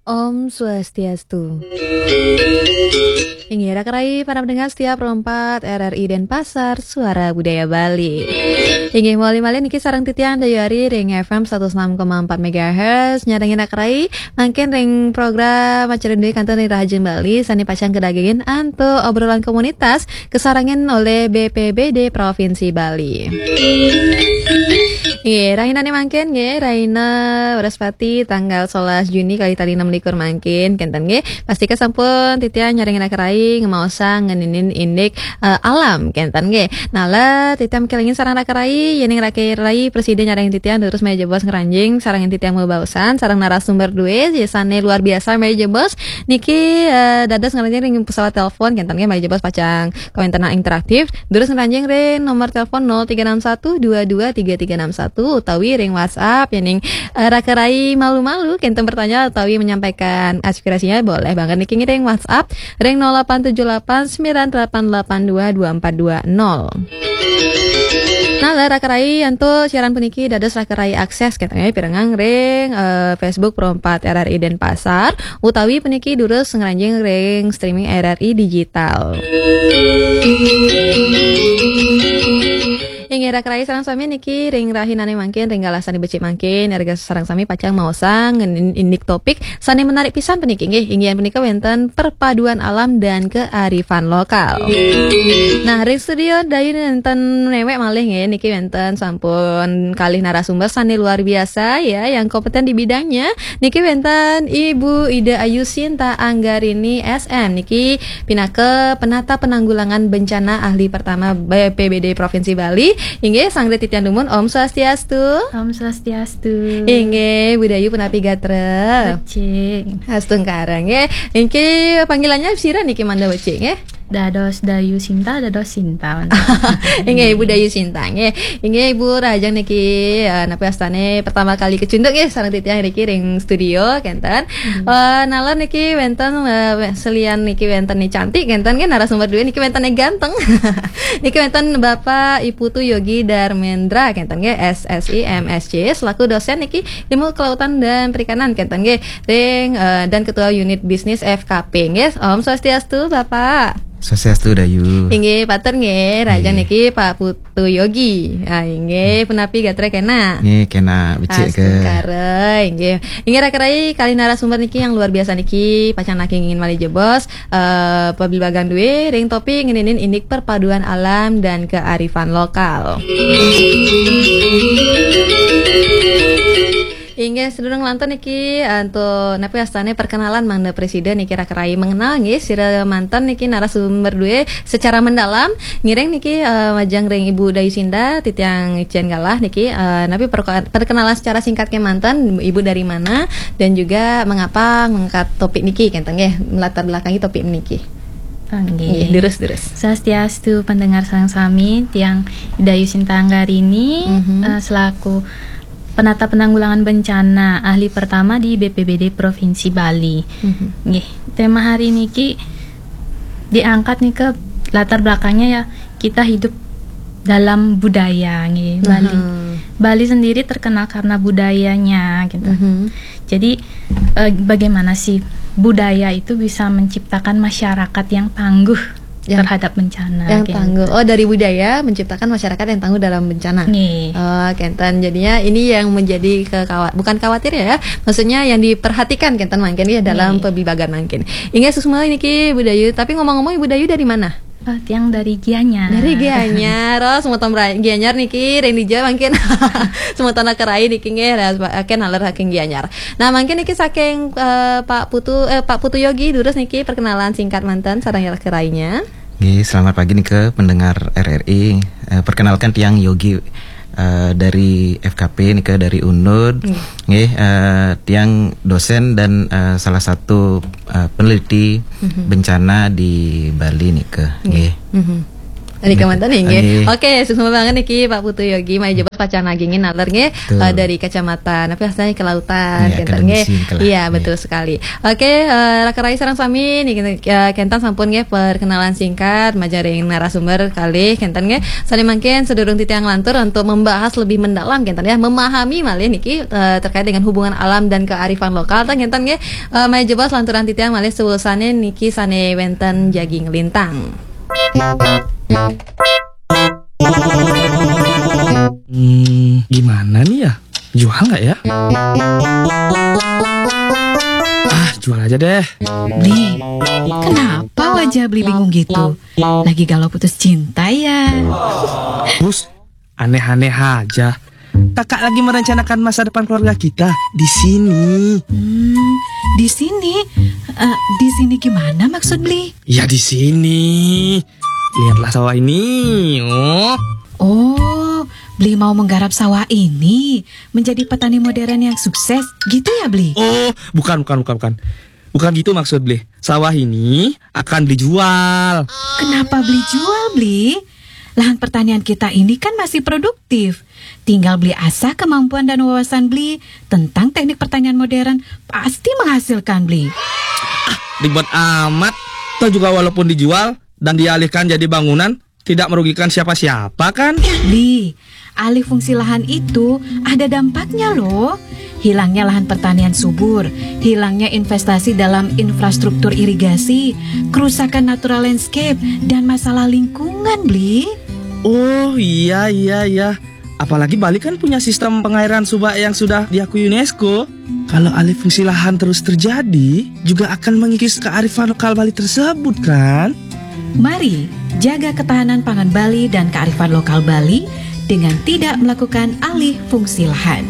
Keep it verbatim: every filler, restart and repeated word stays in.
Om Swastiastu. Inggih, raka rai para pendengar setia Pro empat R R I Denpasar, Suara Budaya Bali. Inggih, mawali malih niki sareng titiang Dayu Ari ring F M satus enam koma empat megahertz, nyarengin raka rai mangkin ring program acara Due Kantun ring Rahajeng Bali, sane pacang kadagingin antuk obrolan komunitas, kasarengin olih B P B D Provinsi Bali. Nggih, rahinane mangkin nggih, rahina Wraspati tanggal sebelas Juni kalih tali enam likur mangkin, kenten nggih. Pastika sampun titiang nyarengin raka rai ngemaosang ngeninin indik, eh, alam, kenten nggih. Nah, la titiang makelingin sareng raka rai, yening raka rai prasida nyarengin titiang durus malih jebos ngranjing sareng titiang mabaosan sareng narasumber due, sane luar biasa malih jebos niki, eh, dados ngranjing ring pesawat telepon, kenten nggih, malih jebos pacang kawentenan interaktif, durus ngranjing ring nomor telepon nol tiga enam satu dua dua tiga tiga enam satu utawi ring WhatsApp, yening, eh, raka rai malu-malu kenten bertanya utawi menyampaikan aspirasinya, boleh banget niki ngiring WhatsApp ring nol delapan tujuh delapan sembilan delapan delapan dua dua empat dua nol. Nah, la raka rai antuk siaran puniki dados raka rai akses kenten nggih pirengang ring, eh, Facebook Pro empat R R I Denpasar, utawi puniki durus ngranjing ring streaming R R I digital. Inggih, raka rai sareng sami niki ring rahinane mangkin, ring galah sane becik mangkin, iraga sareng sami pacang maosang ngenin indik topik sane menarik pisan puniki nggih, inggih punika wenten perpaduan alam dan kearifan lokal. Nah, ring studio Dayu nenten newek malih nggih, niki wenten sampun kalih narasumber sane luar biasa ya, yang kompeten di bidangnya. Niki wenten Ibu Ida Ayu Sinta Anggarini S M, niki pinaka penata penanggulangan bencana ahli pertama B P B D Provinsi Bali. Inggih, sareng titiang dumun, Om Swastiastu. Om Swastiastu. Inggih, Bu Dayu punapi gatra? Becik. Astungkara nggih. Inggih, panggilannya sira niki mangda becik nggih? Dados Dayu Sinta, dados Sinta. Inggih, Ibu Dayu Sinta nggih. Inggih, Ibu rahajeng niki, eh, napi wastane pertama kali kacunduk nggih sareng titiang niki ring studio kenten. Hmm. Eh, nalar niki wenten, eh, selian niki wenten ni cantik kenten nggih, narasumber due niki wenten ni ganteng. Niki wenten Bapak I Putu Yogi Darmendra kenten nggih, S S I M S C, selaku dosen niki Ilmu Kelautan dan Perikanan kenten nggih, ring, eh, dan Ketua Unit Bisnis F K P nggih. Om Swastiastu, Bapak. Swastiastu, Dayu. Inggih, pater nggih, rahajeng nggih, niki Pak Putu Yogi. Ah, inggih, punapi gatra kena? Nggih, kena becik ke. Astungkara, inggih. Inggih, raka rai, kalih narasumber niki yang luar biasa niki, pacang nakingin malih jebos, eh, pabilbagan due ring topik ngeninin indik perpaduan alam dan kearifan lokal. Inggih, sedurung lantur niki, antuk napi wastane perkenalan mangda prasida niki raka rai mengenal nggih, sira manten niki narasumber due secara mendalam. Ngiring niki, eh, majeng ring Ibu Dayu Sinta, titiang icen galah niki, eh, napi perko-, perkenalan secara singkat kemanten, Ibu dari mana dan juga mengapa mengangkat topik niki kenten nggih, melatar belakangi topik niki. Nggih, durus, durus. Swastiastu, pendengar sareng sami, tiang Ida Ayu Sinta Anggarini, mhm, eh, selaku penata penanggulangan bencana ahli pertama di B P B D Provinsi Bali. Mhm. Nggih, tema hari niki diangkat nih ke latar belakangnya ya, kita hidup dalam budaya nggih, Bali. Mhm. Bali sendiri terkenal karena budayanya gitu. Mhm. Jadi, eh, bagaimana sih budaya itu bisa menciptakan masyarakat yang tangguh, ya, terhadap bencana, yang gitu, tangguh. Oh, dari budaya menciptakan masyarakat yang tangguh dalam bencana. Nggih. Oh, kenten. Jadinya ini yang menjadi kekawa-, bukan khawatir ya, maksudnya yang diperhatikan kenten mangkin ya dalam, nggih, pebibagan mangkin. Inggih, suksma niki Bu Dayu. Tapi ngomong-ngomong, Ibu Dayu dari mana? Oh, tiang dari Gianyar. Dari Gianyar. Oh, semeton bra-, Gianyar niki ring dija mangkin. Semeton raka rai niki nggih, ken naler saking Gianyar. Nah, mangkin niki saking, eh, Pak Putu, eh, Pak Putu Yogi, durus niki perkenalan singkat manten sareng raka rainya. Nggih, selamat pagi nika pendengar R R I. Eh, perkenalkan, tiang Yogi, eh, dari F K P nika, dari Unud. Nggih. Nggih, eh, tiang dosen dan, eh, salah satu, eh, peneliti, mhm, bencana di Bali nika. Nggih. Nggih. Mhm. Dari Kalimantan nggih. Oke, sukses banget niki Pak Putu Yogi, mari jebos pacang nagingin naler nggih, eh, dari kecamatan apa asalnya kelautan, Iya, kenten kelautan nggih. sih, kelautan. Iya, betul sekali. Oke, eh, raka rai sareng sami niki, eh, kenten sampun nggih perkenalan singkat majaring narasumber kalih kenten nggih. Sané mangkin sedurung titiang lantur untuk membahas lebih mendalam kenten ya, memahami malih niki, eh, terkait dengan hubungan alam dan kearifan lokal kenten nggih. Eh, mari jebos lanturan titiang malih sewusané niki sané wénten jagi nglintang. Hmm, gimana nih ya? Jual nggak ya? Ah, jual aja deh. Bli, kenapa wajah Bli bingung gitu? Lagi galau putus cinta ya? Bus, aneh-aneh aja. Kakak lagi merencanakan masa depan keluarga kita di sini. Hmm, di sini? Eh, di sini gimana maksud Bli? Ya di sini. Lihatlah sawah ini. Oh. Oh, Bli mau menggarap sawah ini menjadi petani modern yang sukses, gitu ya Bli? Oh, bukan, bukan, bukan, bukan. Bukan gitu maksud Bli. Sawah ini akan Bli jual. Kenapa Bli jual, Bli? Lahan pertanian kita ini kan masih produktif. Tinggal Bli asah kemampuan dan wawasan Bli tentang teknik pertanian modern, pasti menghasilkan, Bli. Ribet amat. Toh juga walaupun dijual dan dialihkan jadi bangunan, tidak merugikan siapa-siapa kan? Bli, alih fungsi lahan itu ada dampaknya loh. Hilangnya lahan pertanian subur, hilangnya investasi dalam infrastruktur irigasi, kerusakan natural landscape, dan masalah lingkungan, Bli. Oh iya, iya, iya. Apalagi Bali kan punya sistem pengairan subak yang sudah diakui UNESCO. Kalau alih fungsi lahan terus terjadi, juga akan mengikis kearifan lokal Bali tersebut kan? Mari jaga ketahanan pangan Bali dan kearifan lokal Bali dengan tidak melakukan alih fungsi lahan.